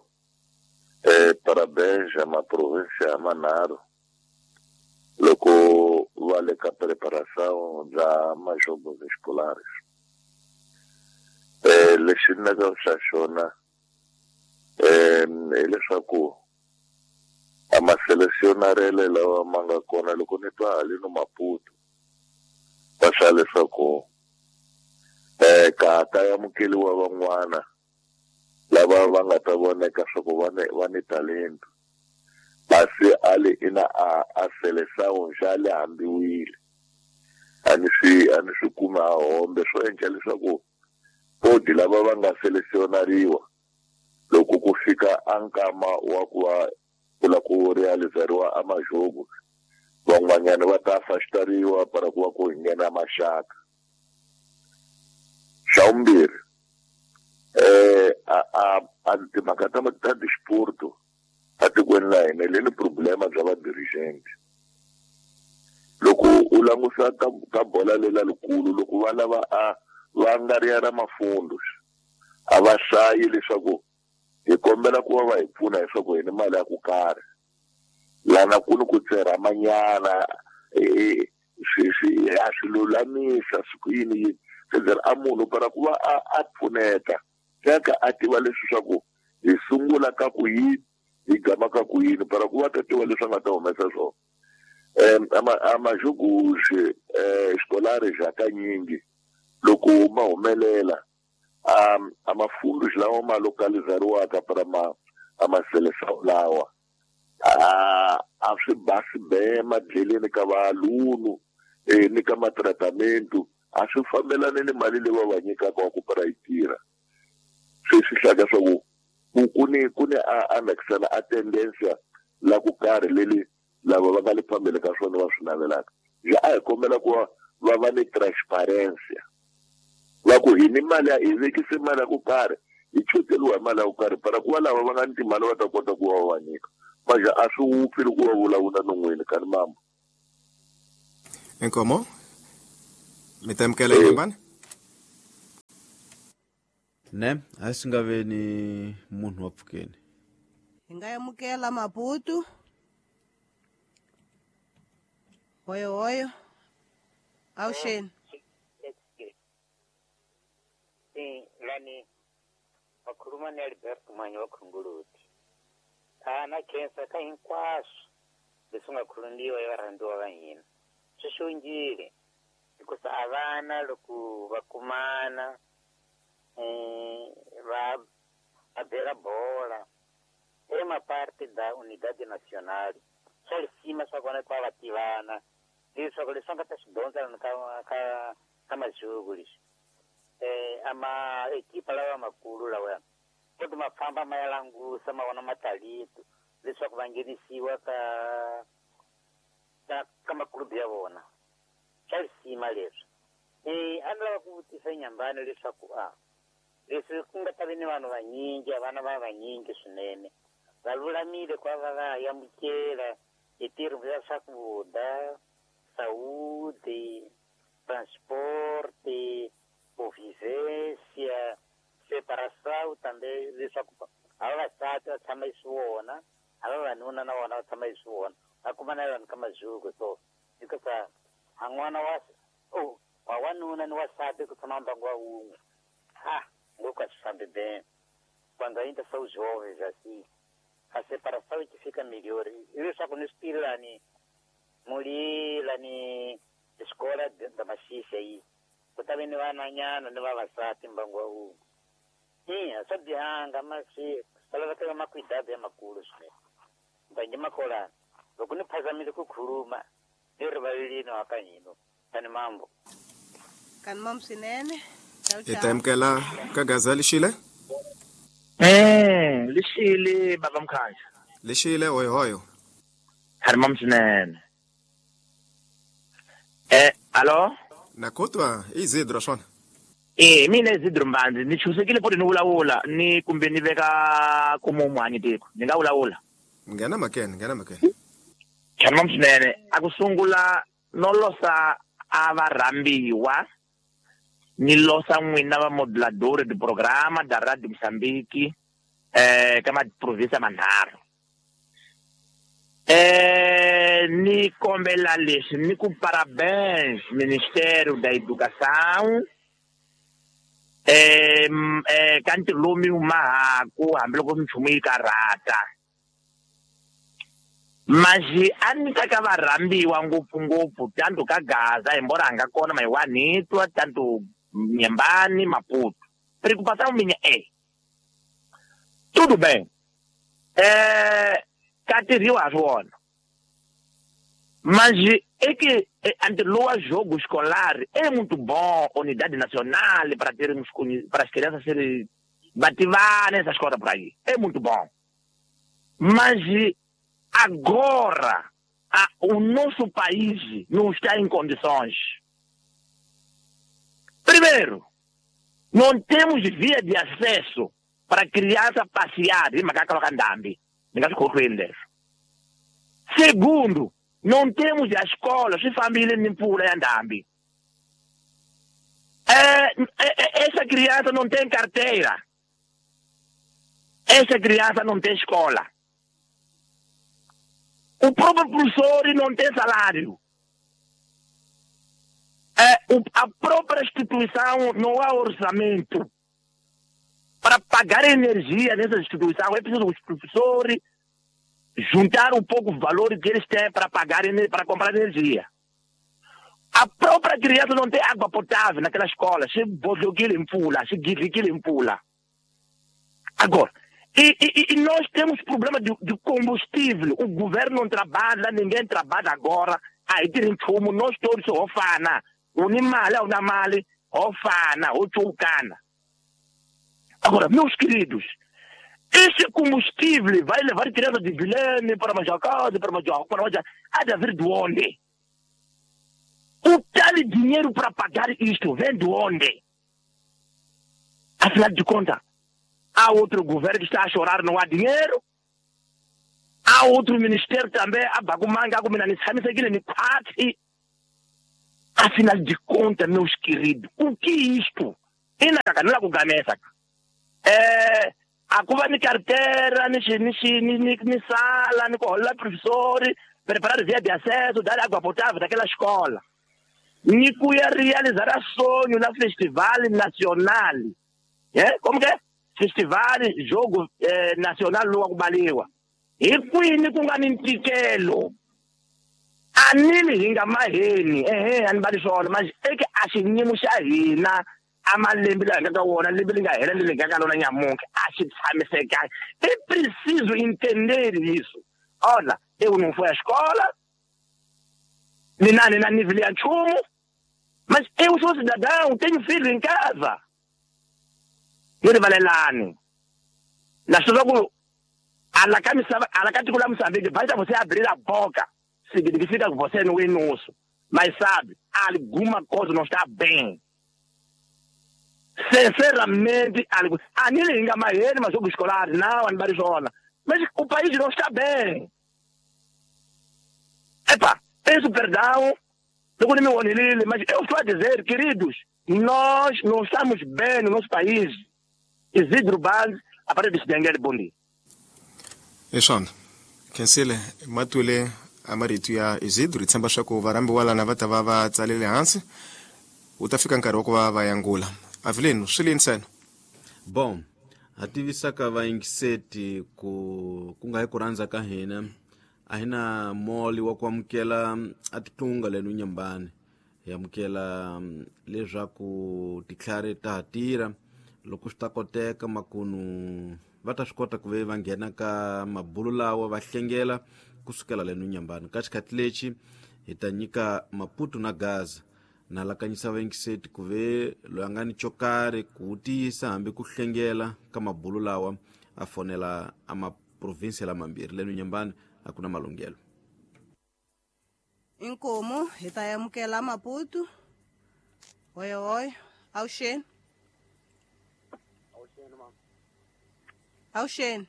parabéns ma provincia manharhu loko va le ka preparação bya majogos escolares. Lexi ni nga xa xona hileswaku a ma selecionarele lawa ma nga kona, loko ni twa haleno Maputo va swa leswaku ka ha ta amukeliwa van'wana lava va nga ta voneka swa ku va ni talento, kasi a le ina a seleção xa le hambiwile, a ni swi kumi a hombe swo endla leswaku podi lava va nga selecionariwa, loko ku fika a nkama wa ku va ku la ku realizariwa a majogo, van'wanyana va ta afastariwa para ku va ku hi nghena maxaka. Xa vumbirhi, a timhaka ta disporto atikweni la hina le ni problema bya va-dirigent. Loko u langusa ka bola lela likulu, loko va lava a va nga ri ya ra mafundo, a va hlayi leswaku hi kombela ku va va hi pfuna leswaku hi ni mali ya ku karhi lana ku ni ku tserhamanyana, swi a swi lulamisa swi ku yini yini sezera a munhu para ku va a pfuneta teka a tiva leswi swa ku hi sungula ka ku yini, hi gama ka ku yini, para ku va ta tiva leswi a nga ta humesa swona. Ama jogos escolares hakanyingi loko ma humelela, a mafundos lawa ma localizariwaka para ma ama seleção lawa a swi basi be madleleni ka valunu ni ka matratamento, a swi fambelani ni mali leyi va va nyikaka wa ku para yi tirha. Se swi hlaka swa ku ku ni a nakisana a tendência la ku karhi leli lava va nga le phambili ka swona va swi navelaka. Ja a hi kombela ku va va ni transparencia, va ku hi ni mali ya hi vekise mali ya ku karhi, hi choteriwa hi mali ya ku karhi, para ku va lava va nga ni timali va ta kota ku va va nyika. Manje a swi wupfi loko va vulavula non'wini kani mambo. Inkomo, mi ta amukela Inhambane? Ne a swi nga ve ni munhu wa pfukeni. Hi nga amukela Maputo. Hoyo hoyo. Awuxeni. Lani vakhuluma ni Alberto Manyi wa Khunguluti. Na khensa ka hinkwaswo leswi nga khulundiwa hi varhandziwa va hina. Swi xongile hikusa a vana loko va kumana va bela bola é uma parte da unidade nacional. Swa lisima swa kona ku va tivana leswaku leswi nga ta swi dyondza ka majuku leswi ama ekipa lawa makulu lawa koti ma famba ma ya langusa ma vona matalito leswaku va nghenisiwa ka makulubu ya vona. Swa lisima leswi. A ni lava ku vutisa Nyambani leswaku leswi ku nga ta vi ni vanhu vanyingi, vana va vanyingi swinene va lulamile ku va va amukela hi tirho ya swakudya, saúde, transporte, convivência, separação também leswaku a vavasati va tshama hi swona, a vavanuna na vona va tshama hi swona, va kuma na vanhu ka majuku. So hikusa a n'wana wa wanuna ni wasati ku tshama mbangu wa wun'we ngopfu a swi fambi bem. Quando ainda são jovens assim, a separação é que fica melhor. Leswaku ni swi tivi lani muli lani escola da Maxixe aí ku ta ve ni vananyana ni vavasati mbangu wa wun'we. A swa bihanga masi swa laveka makwidado ya makulu swinene. Mbangi makolana loko ni phazamile ku khuluma ni rivalelini hakanyino tani mambo. Kani mambo swinene. Hi ta amukela ka Gaza Lixile. Lixile baba Mkhaya. Lixile hoyo hoyo. Kani mambo swinene. Alo? Nakotwa Isidro swona. Mina Isidro Mbanzi ni chusekile poti ni vulavula ni kumbe ni veka kumumwanyi tiko. Ni nga vulavula. Nghena makene, nghena makene. Kani mambo swinene. A ku sungula no losa a va rhambiwa ni losa n'wina va modulador de programa da Radio Moçambique ka maprovinsia manharhu. Ni kombela leswi ni ku parabéns Ministério da Educação ka ntirho lowu mi wu mahaku hambiloko minchumu yi karhata. Mas a ni ta ka va rhambiwa ngopfungopfu tanto ka Gaza hi mbora a nga kona Mayiwanitwa tanto Nyambani Maputo. Preocupação minha é tudo bem. Ka tirhiwa swona. Mas é que ante loa jogo escolar é muito bom unidade nacional para termos para as crianças serem bativadas nessas coisas por aí. É muito bom. Mas agora o nosso país não está em condições. Primeiro, não temos via de acesso para criança passear em Macacalocandambi. Segundo, não temos a escola, se família nem pula em Andambi. Essa criança não tem carteira. Essa criança não tem escola. O próprio professor não tem salário. A própria instituição não há orçamento. Para pagar energia nessa instituição, é preciso os professores juntar um pouco o valor que eles têm para pagar, para comprar energia. A própria criança não tem água potável naquela escola. Se bodoquile empula, se guiriquile empula. Agora, e nós temos problema de combustível. O governo não trabalha, ninguém trabalha agora. Aí tem fumo, nós todos ofana. Unimale, unamale, ofana, ochucana. Agora, meus queridos, esse combustível vai levar criança de Vilene para Majacá, para Majacá, para Majacá, há de haver de onde? O tal dinheiro para pagar isto vem de onde? Afinal de contas, há outro governo que está a chorar, não há dinheiro. Há outro ministério também, a Bagumanga, a Afinal de contas, meus queridos, o que é isto? A ku va ni carteira ni ni sala ni ku holela professori preparar via de acesso dar água potável daquela escola. Ni ku ya realizar a sonho na festival nacional. É? Como que é? Festival jogo nacional lowa ku baliwa. Hi kwini ku nga ni ntikelo? A nini hi nga maheni ehe a ni bali swona manje eke a xiyimo xa hina a malembe laha nga ka wona lembe li nga hela leri nga ka lona nyamuntlha a xi tshamisekanga. É preciso entender isso. Olha, eu não fui à escola, nem na nível ya nchumu, mas eu sou cidadão, tenho filho em casa. Ni rivalelani. Na swi ku ala ka misava ala ka tiko la Moçambique basta você abrir a boca significa que você não é nosso. Mas sabe, alguma coisa não está bem. Sinceramente, a nini nga maheni majogo escolar, não, anibalizona. Mas o país não está bem. Epa, peço perdão, mas eu estou a dizer, queridos, nós não estamos bem no nosso país. Isidro Banz, a partir de Denguele, bom dia. Eshona, khensile matwile a marito ya Isidro hi tshemba swa ku varhambiwa lana va ta va va tsalele hansi wu ta fika nkarhi wa ku va va yangula. Avelino, swi lini sena? Bom, ha tivisaka vayingiseti ku nga hi ku rhandza ka hina a hi na moli wa ku amukela a titlunga leno nyambani. Hi amukela leswaku titlhari ta ha tirha loko swi ta koteka makunu va ta swi kota ku ve va nghena ka mabulu lawa va hlengela kusukela leno nyambani. Ka xikhathi lexi hi ta nyika Maputo na Gaza. Na lakanyisa vayingiseti ku ve loyi a nga ni xo karhi ku vutisa hambi ku hlengela ka mabulu lawa a fonela a maprovinsia lamambirhi leno nyambani a ku na malunghelo. Inkomu hi ta amukela Maputo. Hoyohoyo, awuxeni. Awuxeni mama. Awuxeni.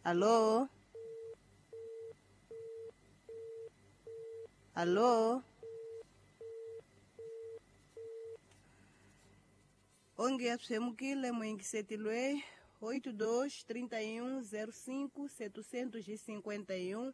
Alô? Alô? Onge ya pshemukile muyingiseti lweyi 82 31 05 751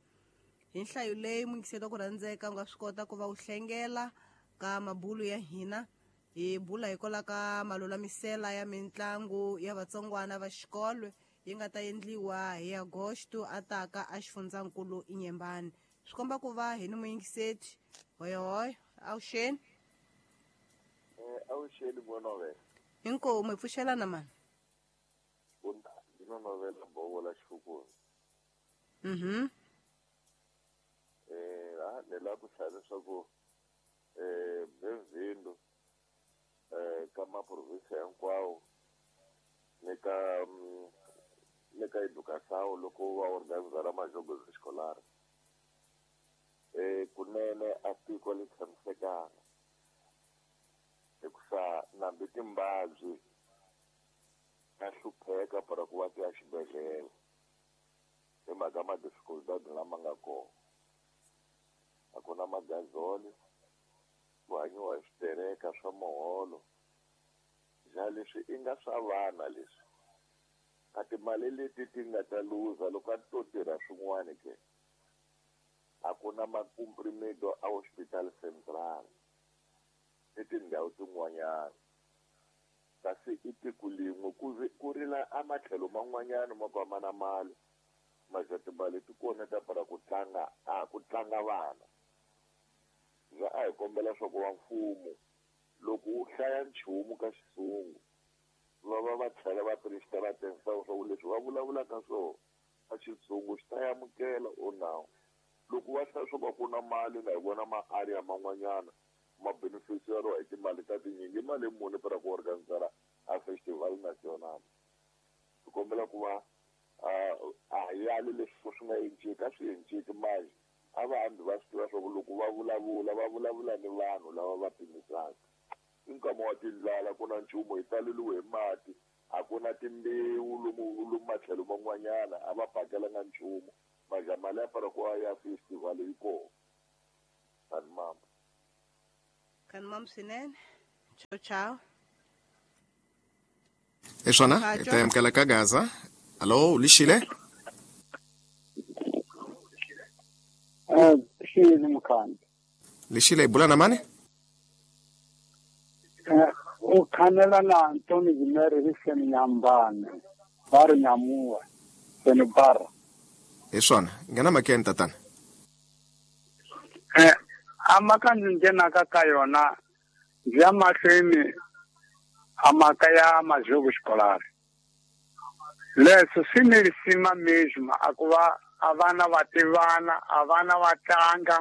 hi nhlayo leyi muyingiseti wa ku rhandzeka u nga swi kota ku va u hlengela ka mabulu ya hina. Hi bula hikwalaho ka malulamisela ya mitlangu ya vatsongwana va xikolo yi nga ta endliwa hi Agosto a taka a xifundzankulu Inyembani. Swi komba ku va hi ni muyingiseti. Hoyohoyo, awuxeni. Awuxeni n'wana. Inkomu hi pfuxelana mani. Ndinonovela bovo la xifukuni. Ni lava ku hlaya leswaku bem-vindo ka maprovinsia hinkwawo ni ka educação loko va organizara majogo escolar. Kunene a tiko li tshamisekanga hikusa nambi timbabyi ta hlupheka para ku va ti ya xibedhlele hi mhaka ma-dificultad lama nga kona. A ku na magazoli, ku hanyiwa hi switereka swa muholo. Ja leswi i nga swa vana leswi a timali leti ti nga ta luza loko a to tirha swin'wana ke. A ku na macomprimido a hospital central ni tindhawu tin'wanyana. Kasi i tiko lin'we ku rila a matlhelo man'wanyana ma ku a ma na mali maja timali ti kona ta para ku tlanga a ku tlanga vana. Ja a hi kombela swa ku va mfumo loko wu hlaya nchumu ka xizungu va va tlhela va presta va tensisa swa ku leswi va vulavulaka swona a xizungu xi ta amukela o nawu. Loko va hlaya swa ku na mali na hi vona ma-area man'wanyana ma beneficiary hi timali ta tinyingi mali muni para ku organizara a festival national. Hi kombela ku va a yali leswi swi nga enciki a swi enciki manje a va hambi va swi tiva swa ku loko va vulavula va vulavula ni vanhu lava va pimisaka. I nkama wa tindlala ku na nchumu hi taleliwe hi mati a ku na timbewu lomu matlhelo man'wanyana a va pakelanga nchumu maja mali ya para ku ya festival yi kona. Kani mama. Kani mama swinene. Tchau, tchau. Hi swona hi ta amukela ka Gaza. Hallo, lixile? Xile Mukhandlu. Lixile, hi bula na mani? U khanela na Antoni Zimere hi seni Nyambane, va ri Nyamuwa, seni Barra. Hi swona, nghena makeni tatana. A mhaka ndzi nghenaka ka yona ndzi ya mahlweni a mhaka ya majogo xikolari. Leswo swi ni risima mesmo a ku va a vana va tivana, a vana va tlanga,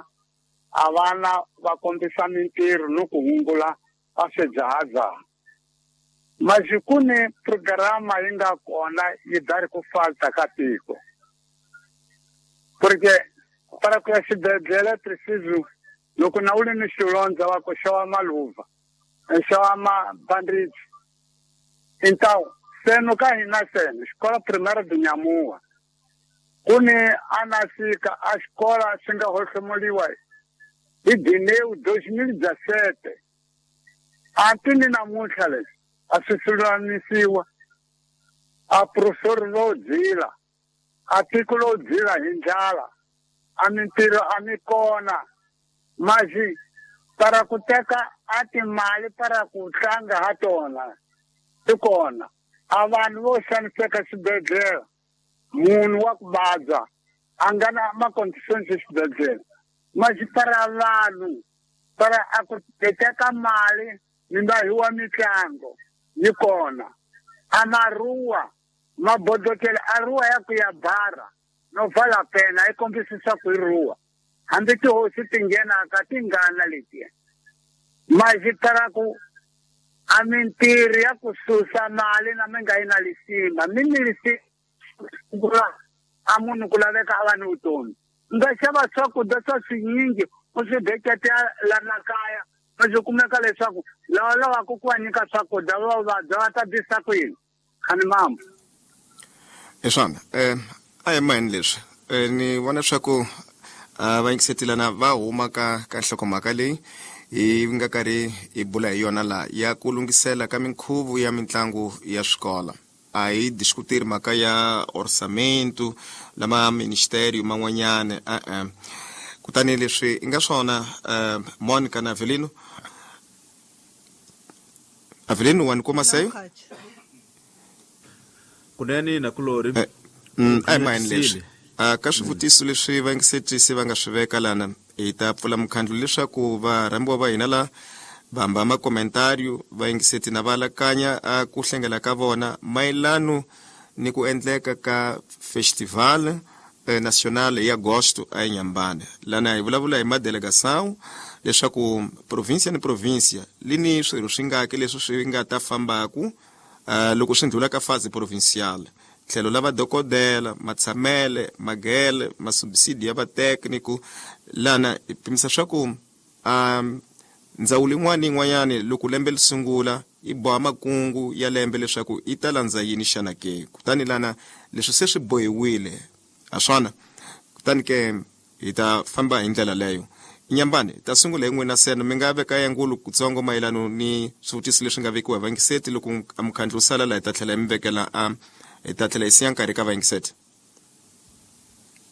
a vana va kombisa mintirho ni ku hungula a swidzahadzaha. Masi ku ni programa yi nga kona yi dari ku falta ka tiko. Porque para ku ya xibedhlele preciso loko na u ri ni xilondza va ku xava maluva, xava mabandage. Então seno ka hina seno xikola primária de Nyamuwa ku ni anasika a xikola xi nga hohlomuliwa hi Dineu 2017. Anti ni namuntlha leswi a swi lulamisiwa. A professor ro dzila, a tiko ro dzila hi ndlala, a mintirho a mi kona. Masi para ku teka a timali para ku tlanga ha tona ti kona. A vanhu vo xaniseka xibedhlele, munhu wa ku vabya a nga na ma-conditions exibedhlele. Masi para vanhu para a ku teka mali mi nga hiwa mitlango yi kona. A maruwa mabodokele a ruwa ya ku ya bara no vala pena yi kombisisa ku yi ruwa. Hambi tihosi ti nghenaka ti ngana letiya. Masi para ku a mintirho ya ku susa mali na mi nga yi na lisima mi ni lisima a munhu ku laveka a va ni vutomi. Nga xava swakudya swa swinyingi u swi beketa lana kaya, ma swi kumeka leswaku lava lavaka ku va nyika swakudya va vabya va ta bisa kwini? Khani mambo. Hi swona, a hi maheni leswi. Ni vona leswaku va yingisetelana va huma ka nhlokomhaka leyi hi nga karhi hi bula hi yona laha ya ku lunghisela ka minkhuvo ya mitlangu ya swikolo. A hi diskutiri mhaka ya orçamento lama ministerio man'wanyana e-e. Kutani leswi i nga swona, Monica na Avelino. Avelino, wa ni kuma seyo? Kunene nakulori. A hi maheni leswi. Ka swivutiso leswi vayingisetisi va nga swi veka lana, hi ta pfula mukhandlu leswaku varhambiwa va hina la vamba makomentario vayingiseti na va alakanya a ku hlengela ka vona mayelano ni ku endleka ka festival national ya agosto a Inhambane. Lana hi vulavula hi madelegação leswaku província ni província li ni swirho swi ngaki leswi swi nga ta fambaku loko swi ndlula ka fase provincial. Tlhelo la vadokodela, matshamele, magele, masubsidi ya vatécnico. Lana hi pimisa swa ku ndzawulo yin'wana ni yin'wanyana loko lembe li sungula yi boha makungu ya lembe leswaku yi ta landza yini xana ke. Kutani lana leswi se swi bohiwile ha swona, kutani ke hi ta famba hi ndlela leyo. Inhambane, hi ta sungula hi n'wina seno mi nga veka ya ngulu kutsongo mayelano ni swivutiso leswi nga vekiwa hi vayingiseti. Loko a mukhandlu wu sala laha hi ta tlhela hi mi vekela a hi ta tlhela hi siya nkarhi ka vayingiseti.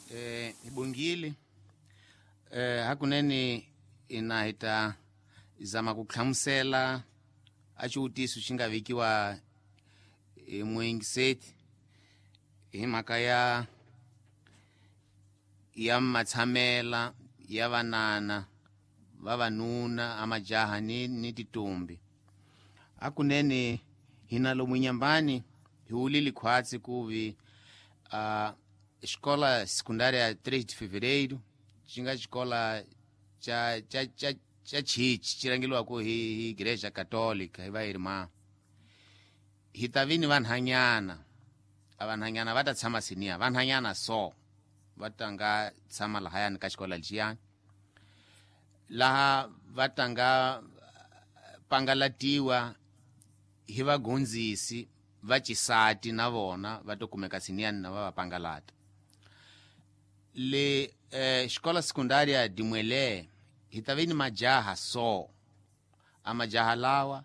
Hi bongile. Hakunene ina hi ta zama ku hlamusela a xivutiso xi nga vekiwa hi muyingiseti hi mhaka ya matshamela ya vanana vavanuna a majaha ni titombi. Hakunene hina lomu Inhambane hi wulile khwatsi ku vi xikola secundária 3 de Fevereiro xi nga xikola cha chichi xi rhangeliwaka hi Igreja Católica hi va irmã. Hi ta vi ni vanhanyana, a vanhanyana va ta tshama siniya, vanhanyana so va ta nga tshama lahayani ka xikola lexiyani, laha va ta nga pangalatiwa hi vagondzisi va xisati na vona va to kumeka siniyani na va va pangalata. Le xikola secundária de Muelé hi ta vi ni majaha so, a majaha lawa